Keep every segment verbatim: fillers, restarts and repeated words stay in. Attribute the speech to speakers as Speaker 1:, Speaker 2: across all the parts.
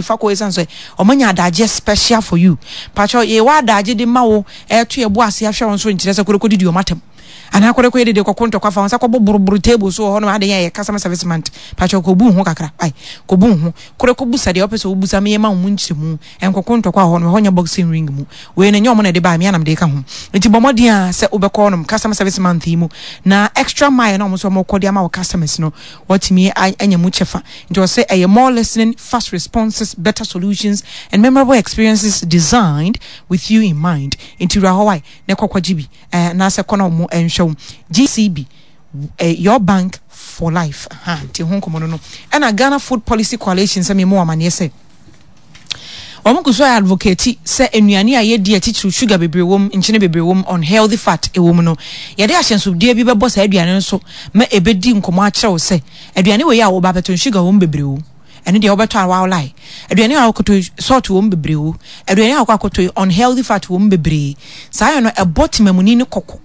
Speaker 1: Fa kɔ, ɛsiane sɛ ɔmanya adagyeɛ special for you. Pakyɛ, yɛwɔ adagye de ma wo, ɛto yɛ bo ase ahwɛ wo nso, nkyerɛ sɛ kɔdekɔ didi ɔmatam anaa kɔdekɔ yɛ dede kɔkɔ ntɔkwa fa wɔn nsa kɔbɔ boroboro table so wɔ hɔ nom. Ade yɛ yɛ customer service month. Pakyɛ, kɔbu ho kakra, ai, kɔbu ho kɔdekɔ busa deɛ ɔpɛ sɛ wobusa meyɛ ma wo mu nkyerɛmu. Ɛnkɔkɔ ntɔkwa wɔ hɔ nom, ɛhɔ nyɛ boxing ring mu. Wei no nyɛ ɔmo na ɛde baa me anam de ka ho, nti bɔ mmɔden a sɛ wobɛkɔ nom customer service month yi mu na extra mile na ɔmo nso ɔmo kɔ de ama wɔ customers no, wɔtumi anya mu kyɛfa. Nti ɔsɛ ɛyɛ more listening, fast responses, better solutions and memorable experiences designed with you in mind. Nti wura hɔ wae na ɛkɔkɔ gye bi ɛɛ anaasɛ kɔ na ɔmo ɛnhwɛ wo. G C B, eh, your bank for life. Ha nti ho nkɔmɔ no no ɛna Ghana Food Policy Coalition sɛ memu amaneɛ sɛ wɔn gu so ayɛ advocate sɛ nnuane a yɛdi atitiriw sugar bebree wɔ mu, nkyene bebree wɔ mu, unhealthy fat ɛwɔ mu no, yɛde ahyɛnsodeɛ bi bɛbɔ saa aduane no so ma ɛbɛdi nkɔmɔ akyerɛw sɛ aduane wɔ yi a wɔba abɛtɔ, sugar wɔ mu bebree o, ɛno deɛ wobɛtɔ a wawolae. Aduane a wɔkɔtɔ, salt wɔ mu bebree o, aduane a wɔkɔ akɔtɔ, unhealthy fat wɔ mu bebree. Saa yɛ no ɛbɔ temamuni ne kɔkɔ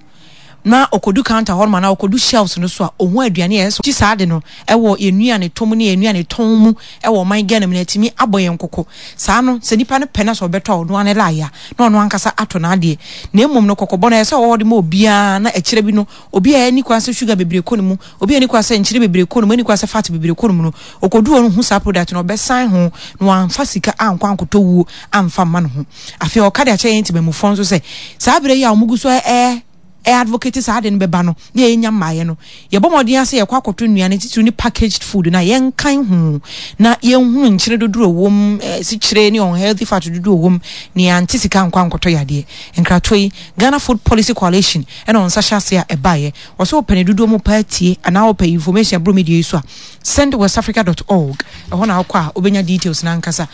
Speaker 1: na ɔkɔdu counter hɔ nom anaa ɔkɔdu shelves no so a, ɔhu aduane a ɛsɛ kyi saa de no ɛwɔ yɛn nnuane tɔm ne yɛn nnuane tɔn mu ɛwɔ ɔman Ghana mu na ɛtumi abɔ yɛn kɔkɔ. Saa no sɛ nipa no pɛ na sɛ ɔbɛtɔ a, ɔno ano laayɛ a na ɔno ankasa atɔ n'adeɛ, na mmom no kɔkɔbɔ no ɛsɛ sɛ ɔwɔ de ma obiara na ɛkyerɛ bi no, obi a ɛni kwan sɛ sugar bebree kɔ ne mu, obi a ɛni kwan sɛ nkyene bebree kɔ ne mu, ɛni kwan sɛ fat bebree kɔ ne mu no, ɔkɔdu hɔ no hu saa product no, ɔbɛsan ho na wamfa sika ankɔ ankɔtɔ wuo amfa mma ne ho. Afei ɔka de akyerɛ yɛn ntimamufoɔ nso sɛ saa berɛ yi a wɔn gu so ɛɛ ɛ advocate saa de no bɛba no na yɛnya mmaeɛ no, yɛbɔ mmɔden ase yɛkɔ akɔtɔ nnuane titiri ne packaged food na yɛnkan ho na yɛnhunu nkyene dodoɔ wɔ mu, sikyire ne unhealthy fat dodoɔ wɔ mu, na yɛante sika nkɔ ankɔtɔ yadeɛ. Nkratoɔ yi, Ghana Food Policy Coalition ɛna wɔn nsa hyɛ ase a ɛbaeɛ. Wɔsɛ wɔpɛ ne dodoɔ mu paa tie anaa wɔpɛ information aburo media yi so a, send westafrica dot org, ɛhɔ na wokɔ a wobɛnya details na ankasa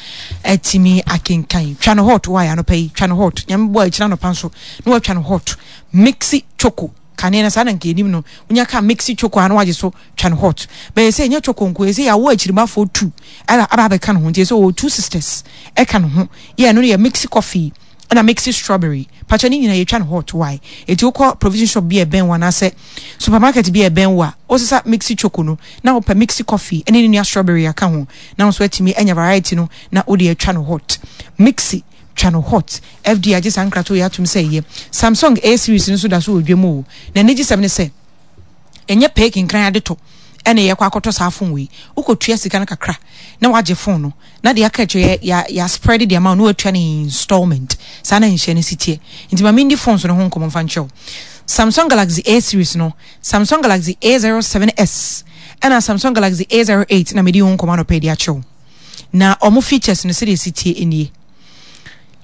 Speaker 1: atumi akenkan. Twa no hot wɔ ayɛ anɔpa yi, twa no hot. Nyame bɔ akyina anɔpa nso na watwa no hot. Mixi Choco kane na saa na nka anim no wonya ka Mixi Choco a na wagye so twa no hot. Bɛyɛ sɛ ɛnyɛ choco nko, ɛsɛ yɛawo akyirimafoɔ tu ɛna aba abɛka ne ho, nti ɛsɛ ɔwɔ two sisters ɛka ne ho yɛ. Ɛno no yɛ Mixi Coffee ɛna Mixi Strawberry. Patwa ne nyinaa yɛtwa no hot wae. Ɛti wokɔ provision shop bi a ɛbɛn wo anaasɛ supermarket bi a ɛbɛn wo a, wosesa Mixi Choco no na wopɛ Mixi Coffee ɛne ne nua strawberry aka ho na nso atumi anya variety no na wode atwa no hot. Mixi, twa no hot. F D A agye saa nkrato yɛ atom sɛ ɛyɛ. Samsung A series no nso da so wɔ dwam o, na anigye sɛm ne sɛ ɛnyɛ pɛɛ kinkran ade tɔ ɛna yɛkɔ akɔtɔ saa phone wei. Wokɔtua sika no kakra na wagye phone no, na deɛ aka akyerɛ yɛ yɛ spread deɛ ama wo na watua no installment. Saa na nhyɛ no si teɛ. Nti ma mendi phones no ho nkɔmmɔ mfa nkyerɛw. Samsung Galaxy A series no, Samsung Galaxy A zero seven S ɛna Samsung Galaxy A zero eight na mede ho nkɔmmɔ anɔpɛ de akyerɛw. Na ɔmo features no sɛdeɛ si tie nie: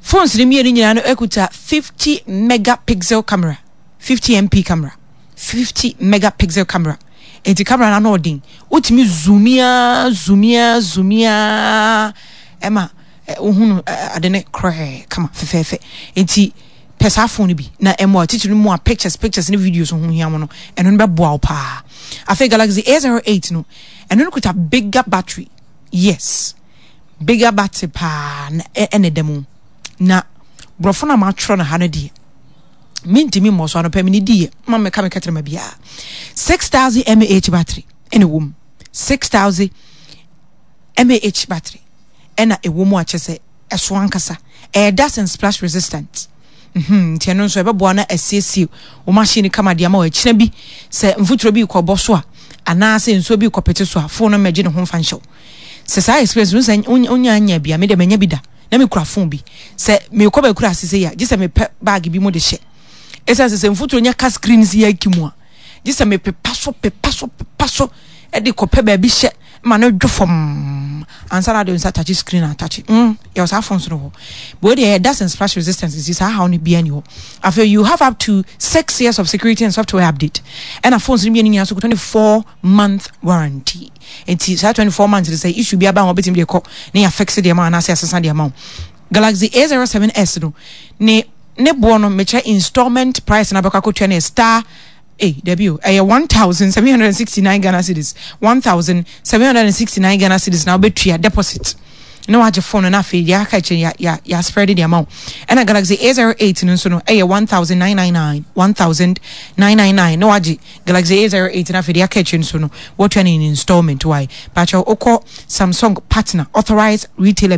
Speaker 1: phones no mmienu nyinaa no ekuta fifty megapixel camera, fifty M P camera, fifty megapixel camera. Nti camera no ano ɔden, wotumi zoom ya, zoom ya, zoom ya, ɛma wohunu ade ne korɛɛ kama fɛfɛɛfɛ. Nti pɛ saa phone no bi na ɛmoa titiri no mu a pictures pictures ne videos ho hia mo no, ɛno no bɛboa wo paa. Afei Galaxy A zero eight no, ɛno no kuta bigger battery. Yes, bigger battery paa na ɛna ɛda mu. Na borɔfo no a matwerɛ no ha no deɛ, mentumi mmɔ so. Anɔpɛ mene diiɛ ma meka meka kyerɛ ma biara, six thousand M A H battery ɛna ɛwɔ mu, six thousand M A H battery ɛna ɛwɔ mu, akyɛ sɛ ɛso ankasa ɛyɛ dust and splash resistant. mhm, nti ɛno nso ɛbɛboa na asiesie wo machine kama de ama wɔ akyina bi sɛ mfuturo bi kɔbɔ so a anaasɛ nsuo bi kɔpete so a, phone no mmɛgye ne ho mfa nhyɛw. Sɛ saa experience no sɛ wonya anya bi a, mede manya bi da na mekura phone bi sɛ mekɔ bɛkura ase sɛ yi a, gye sɛ mepɛ bag bi mu de hyɛ, ɛsiane sɛ sɛ mfuturo nya ka screen si yɛ aki mu a, gye sɛ mepepa so, pepa so, pepa so, ɛde kɔpɛ baabi hyɛ ma no dwo fam ansa na de nsa touch screen a touch mm yɛ saa phones no hɔ. But deɛ yɛ dust and splash resistance nti saa haw no bia ni hɔ. Afei you have up to six years of security and software update, ɛna phones no mmienu nyinaa so twenty four month warranty. Nti saa twenty four months de sɛ issue bi aba ho, wobɛtumi de kɔ ne yɛ fix deɛ ma anaasɛ asesa deɛ ma wo. Galaxy A zero seven S no ne ne boɔ no, mekyerɛ installment price na bɛkɔ akɔtua no yɛ star eh dabi o, ɛyɛ one thousand seven hundred and sixty nine Ghana cedis, one thousand seven hundred and sixty nine Ghana cedis na wobɛtua deposit na wagye phone no, na afei deɛ aka akyire ya ya ya spread de ama wo. Ɛna Galaxy A zero eight no nso no ɛyɛ one thousand nine nine nine, one thousand nine nine nine na wagye Galaxy A zero eight, na afei deɛ aka akyire nso no wɔtua no in installment. Wae, baakyɛ wokɔ Samsung partner authorized retailer bi.